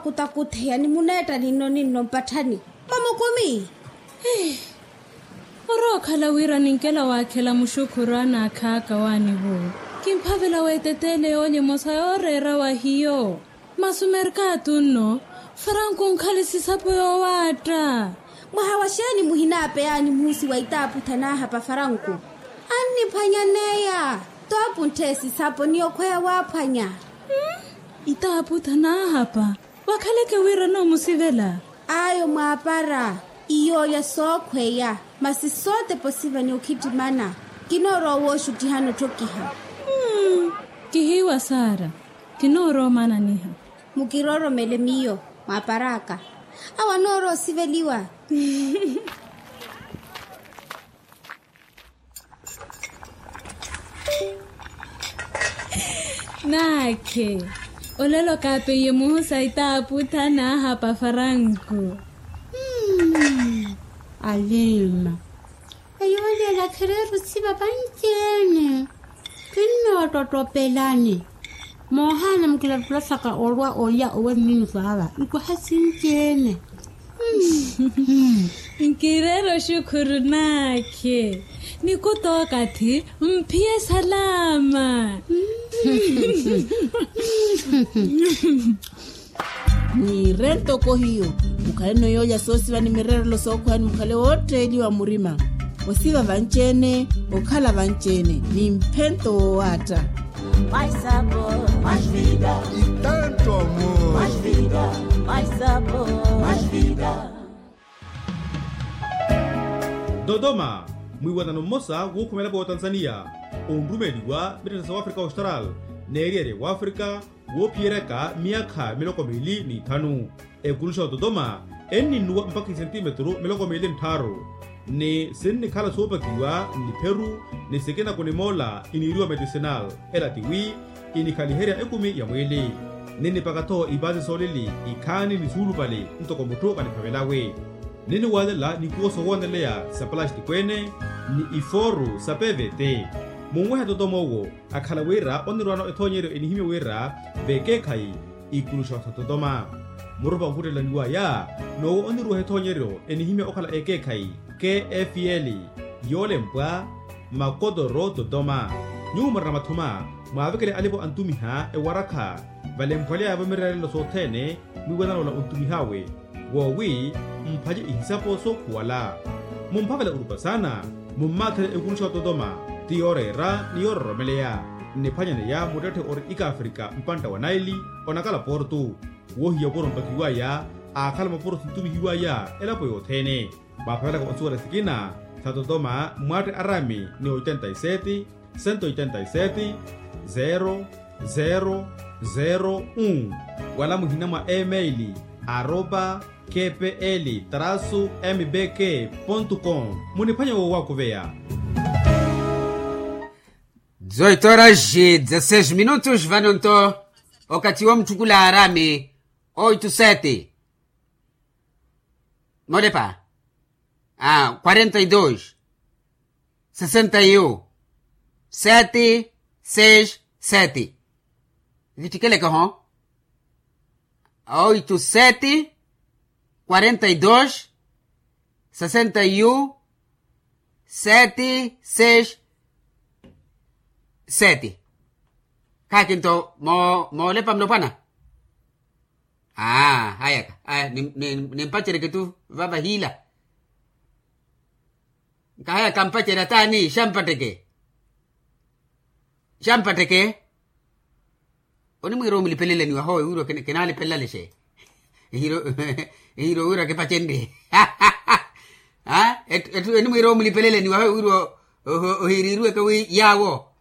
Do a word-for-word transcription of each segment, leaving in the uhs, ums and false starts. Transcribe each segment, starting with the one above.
Kutakutheya ni muneetta ninno ninno mpatthani. Mamukumi. Orookhala wira ninkela waakhela muxukhuru anaakhaaka waanivo. Kimphavela weeteteele yoolya emosa yooreera wa hiyo. Masi omerkatu nno, faranku onkhale sisapo yoowaatta. Mwaha wa xeeni muhinaapeyaani muhusi wa itaaputha naahapa faranku? Anniphwanyaneya. Toopuntthe sisapo ni okhweya waaphwanya. Itaaputha naahapa. Wakhaleke wira noomusivela. Ayo mwaapara. Iyoolya sookhweya. Masi sootepa osiva ni okhittimana. Kinoorowa wooxuttihana otthokiha. Kihiiwa saara. Kinoorowa omaananiha. Mukirooromele miyo mwaapar'aka. Awo anoorowa osiveliwa. Naakhe. Olelo kaapeiye muhusa itaaputha naahapa faranku. Alima. Eyo olela khereera osiva vanci-ene. Kinnoottottopelani. Moohaana mukilattula saka olwa olya owe mminisi ava nkwaha sinci-ene. Nkireera oxukhuru naakhe. Ni kutookathi mphiye salaama. Niire ntoko hiyo. Mukhaleno yoolya soosiva ni mireerelo sookhweya ni mukhale wootteeliwa murima. Osiva vanci-ene. Okhala vanci-ene ni mphento woowaatta. Maisapo. Maivida. Itanto amor. Maivida. Maisapo. Maivida. Dodoma. Mwiiwanano mmosa wuukhumela pootanzaniya onrumeeliwa mitthana sa wafrika austral n'eriyari ya wafrika woophiyeryaka myaakha miloko miili n'ithanu. Ekuluxa ototoma enninnuwa mpakha isentimetru miloko miili nttharu. Ni sinnikhala soopakiwa nnipheru ni sikina kunimoola iniiriwa medicinal. Ela tiwi inikhaliherya ekumi ya mwiili. Ninnipaka-tho ipaasi soolili ikhaani ni suulupale ntoko mutthu kaniphavelawe. Ninniwaalela nikuwo sowooneleya sa palastiko-ene ni ifooru sa pvt. Munwehe totoma owo akhala wira onnirwaano ethoonyeryo enihimya wira vekeekhayi ikuluxa ototoma. Murupa onvuttelaniwaya n'owo onniruweha ethoonyeryo enihimya okhala ekeekhayi. Kfl yoolempwa makotoro totoma. Nyuwo murina mathuma mwaavekele alipo antumiha ewarakha valempwaleya-vo mireerelo sothene mwiiwanano ola ontumih'awe. Woowi mphace ihisapo sookhuwala. Mumphavela orupa saana. Mummaatherye ekuluxa ototoma ti yooreera ni yoororomeleya. Nniphwanyaneya muttetthe ori ikafrika mpantta wa naili onakala portu. Woohiya opuro mpakiwaya aakhala mapuro sintumihiwaya elapo yothene. Mwaaphavelaka onsuwela sikina sa totoma mwatte arami ni oitenta y sete, sento oitenta y sete, zero zero zero un. Wala muhina mwa email aropa kpl trasu mbk pontu com. Muniphwanya woowakuveya. Dezoito horas e dezasseis minutos vano nto okathi wa mutthukula arami. Oito sete. Molepa. Ah, quarenta e dois, sessenta e um, sete seis sete. Vittikeleke ho. Oito sete, quarenta e dois, sessenta e um, sete seis sete. Khakinto moolepa mulopwana. Aa hayaka. Nimpacereke tu vava hiila. Nkahayaka mpacerya taani xampatteke. Xampatteke. Onimwiira omulipelelani wahowe wirwa kinaalipelalexe. Ehiro wirwa kipacenrye. Ettu enimwiira omulipelelani wahowe wirwa ohiiriiriweke wi yaawo.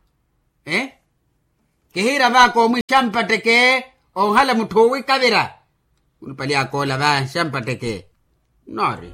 Kihiira vaaka omwixa mpatteke. Onhala mutthu owikavira. Khunipali akoola vaxa mpatteke. Noori.